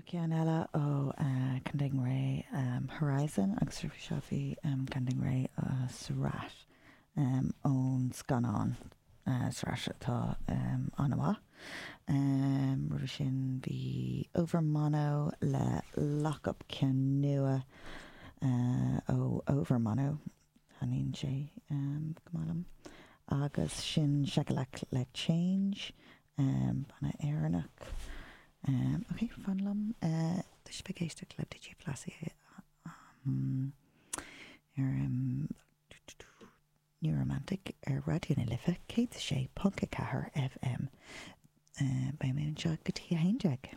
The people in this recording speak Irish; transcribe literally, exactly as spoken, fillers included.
Ceann eile ó Counting Ray um, Horizon agus seo bhí um, Counting Ray uh, Seurat um, ón scannán uh, Seurat atá um, an-mhaith. Um, Roimhe sin bhí Overmono le Lockup ceann nua uh, ó Overmono thaitníonn sé um, go maith liom. Agus sin Sekalak le Change um, banna Éireannach. Um, ok, fan liom uh, Tá sibh ag éisteacht le DJ Flossie um, ar um, New Romantic ar Raidió na Life céad sé ponc a ceathair FM. Uh, Beidh mé anseo go dtí a haon déag.